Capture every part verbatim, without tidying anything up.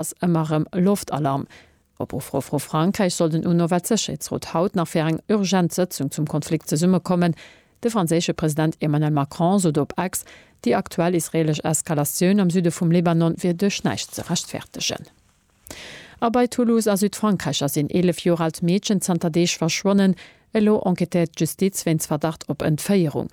Ass ëmmer erëm Loftalarm. Op Ufro vu Frankräich soll den UNO-Weltsécherheetsrot haut nach fir eng urgent Sëtzung zum Konflikt zesummekommen. De franséische President Emmanuel Macron sot op X, déi aktuell israeelesch Eskalatioun am Süde vum Libanon wier duerch näischt ze rechtfertegen. A bei Toulouse a Südfrankräich ass een eelef Joer aalt Meedchen zanter Deeg verschwonnen. Elo enquêtéiert d'Justiz wéinst Verdacht op Entféierung.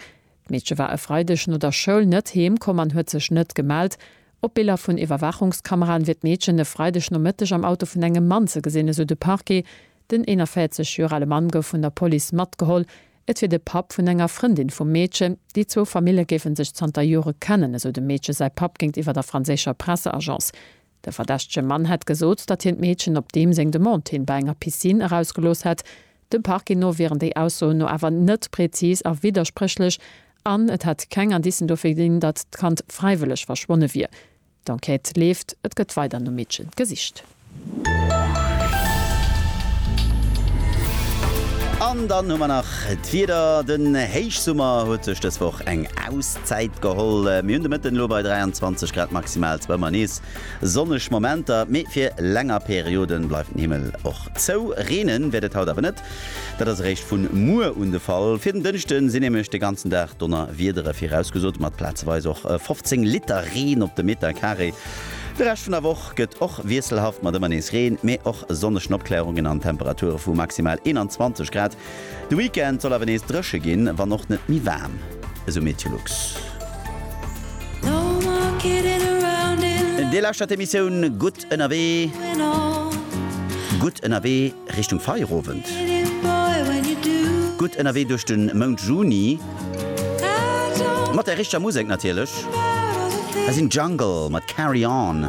D'Meedche war e Freideg no der Schoul net heem komm an huet sech net gemellt. Op Biller vun Iwwerwaachungskameraen wier d'Meedchen e Freideg Nomëtteg am Auto vun engem Mann ze gesinn, esou de Parquet. Den eenanvéierzeg Joer ale Mann gouf vun der Police matgeholl. Et wier de Papp vun enger Frëndin vum Meedchen. Déi zwou Famille géife sech zanter Jore kennen, esou dem Meedche säi Papp géintiwwer der franséischer Presseagence. De verdächtege Mann hätt gesot, datt hien d'Meedchen op deem seng Demande hin bei enger Piscine erausgelooss hätt. Dem Parquet no wieren déi Aussoen no awer net prezis a widderspréchlech an et hätt keng Indicen dofir ginn, datt d'Kand fräiwëlleg verschwonne wier. D'Enquête leeft, et gëtt weider nom Meedche gesicht. An dann hu mer nach d'Wieder, Den Héichsummer huet sech dës Woch eng Auszäit geholl. Mir hunn de Mëtten elo bei dräianzwanzeg Grad maximal zwar ëmmer nees sonneg Momenter, mee fir länger Periode bleift den Himmel och zou. Reene wäert et haut awer net, dat ass eréischt vu muer un de Fall. Fir den Dënschde sinn nämlech de ganzen Dag Donnerwiedere virausgesot, mat plazeweis och fofzéng Liter Reen op de Meterkaree. De Rescht vun der Woch gëtt och wiesselhaft mat ëmmer nees Reen, mee och sonnegen Opklärungen an Temperature vu maximal eenanzwanzeg Grad. De Weekend soll awer nees dréche ginn, wann och net méi waarm, esou Meteolux. Dir lauschtert d'Emissioun Gutt ënnerwee. Gutt ënnerwee Richtung Feierowend. Gutt ënnerwee duerch de Mount Juni. Mat der richteger Musek natierlech. Hei sinn Jungle mat Carry On.